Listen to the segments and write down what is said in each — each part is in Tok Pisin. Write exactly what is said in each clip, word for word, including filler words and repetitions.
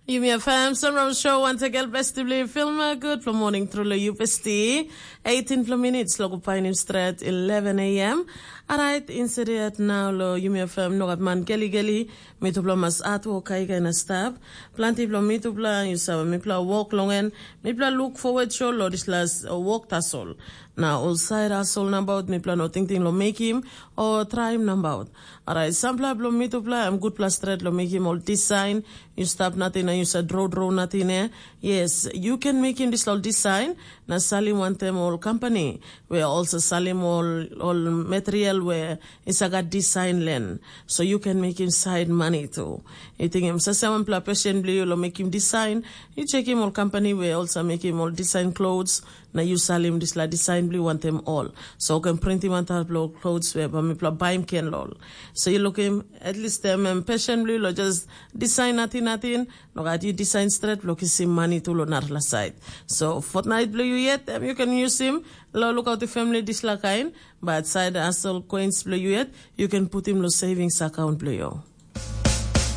Yumi FM Sunrise Show, once again, best to believe film, uh, good for morning through the U P S T. eighteen minutes, logo painim stret eleven a m. Alright, instead now lo Yumi FM, no gat man geli geli, mitupla mas atu o kai kai na stap. Planti blo mitupla, you sabe, mipla walk long en, mipla look forward show lo this last uh, walk tasol. Na ol side hustle nabaut, mipla no tingting lo mekim o traim nabaut. Alright, sampla blo mitupla, em gutpla stret lo mekim ol design, you stap nating na you sa draw draw nating eh. Yes, you can mekim this ol design, na salim wantem ol company, we also salim ol, ol material we is a gat design len. So you can mekim side money too. You think em sasem pla passion bli you lo mekim design, you check him ol company we also mekim ol design clothes, na you salim this la design bli wantem all. So you can print him on top lo clothes we ba mipla baim ken lol. So you look him, at least them um, passion bli lo just design natin natin, no gat you design straight lo kisim money tu lo narla side. So fortnight bli you yet, um, you can use him, lo look out the family this la kind, but side hustle coins bli you yet, you can put him lo savings account bli you.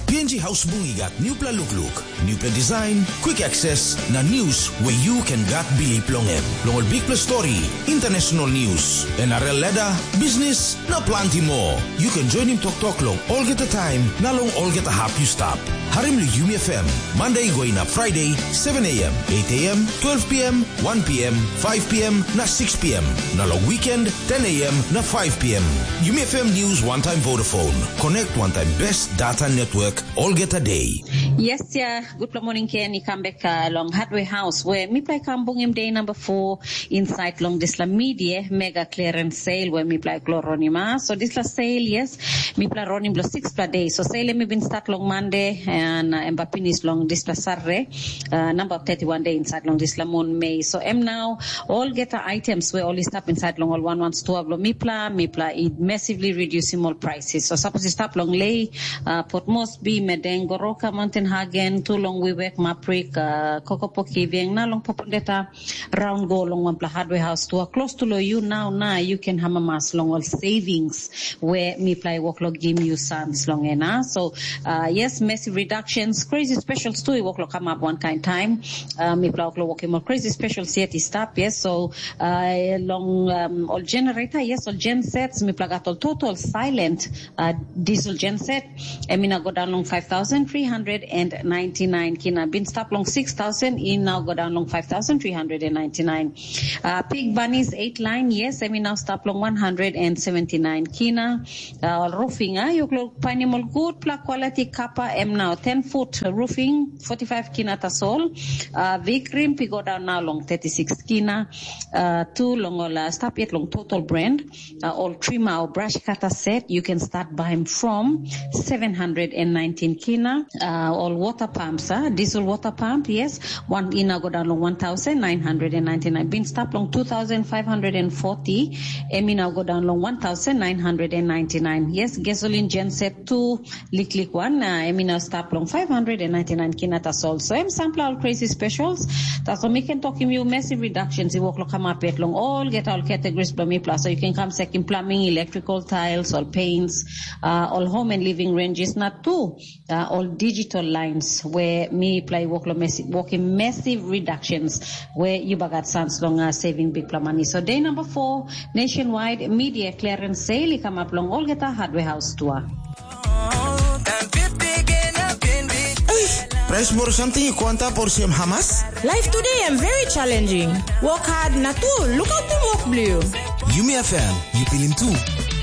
P N G House Bungi gat newpela lukluk, newpela design, quick access, na news where you can gat bilip long em. Long ol bikpela story, international news, N R L ladder, business, na planti more. You can join him toktok long olgeta time, na long olgeta hap you stap. Harim lu Yumi F M, Monday going up Friday, seven a m, eight a m, twelve p m, one p m, five p m, na six p m. Na long weekend, ten a m, na five p m. Yumi F M News one time Vodafone. Connect one time best data network olgeta day. Yes, yeah. Good morning, Ken. You come back uh, along Hardware House, where mi play come bungim day number four inside long this la media mega clearance sale where mi play cloronima. So this la sale, yes, mi play running blo six pla day. So sale mi been start long Monday and uh, emba finish long this la Saturday. Uh, number of thirty-one day inside long this la moon May. So em now all get the items where all stop inside long all one one store blo mi pla, mi pla it massively reduce him all prices. So suppose you stop long lay, uh, Port Moresby, Medeng, Goroka, Mountain Hagen, too long we work Maprik, uh, Kokopoki, Vieng, na long Popondeta, round go long one pla hardware house to a close to lo you now, now you can hamamas long all savings where mi play work lo gim you sons long ena. So uh, yes, massive reductions, crazy specials too. Work lo come up one kind time. Uh, mi play work lo work more crazy specials yet is stop. Yes, so uh, long um, all generator, yes, all gen sets. Mi play got all total silent uh, diesel gen set. Em i na go down long five thousand three hundred and ninety-nine kina. Bin stop long six thousand, i now go down long five thousand three hundred and ninety-nine. Uh, Pig Bunnies eight line, yes, em i now stop long one hundred and seventy-nine kina. Uh, roofing, uh, you look painim all good pla quality copper, em now ten foot roofing, forty-five kina tasol. Uh, Vic Rim, pi go down now long thirty-six kina. Uh, two long all, uh, stop yet long total brand. Uh, all trimmer or brush cutter set, you can start buying from seven hundred and nineteen kina. Uh, all water pumps, uh, diesel water pump, yes, one ina go down long one thousand nine hundred and ninety-nine. Bin stop long two thousand five hundred and forty, em ina go down long one thousand nine hundred and ninety-nine. Yes, gasoline genset two, liklik one, uh, em ina stop long five hundred and ninety-nine kina tasol. So em sampla all crazy specials. Tasol mi can talk him you massive reductions. I work lo come up yet long all get all categories blo mi plus. So you can come second plumbing, electrical tiles, all paints, uh, all home and living ranges, not two, uh, all digital lines where mi play work lo massive, working massive reductions where you bagat sans long uh, saving big pla money. So day number four, nationwide media clearance sale i come up long all get a hardware house tour. Eish, price moro something i kwanta por siem hamas? Life today am very challenging. Work hard na tu, look out the work blue. Yumi F M, you feel him too.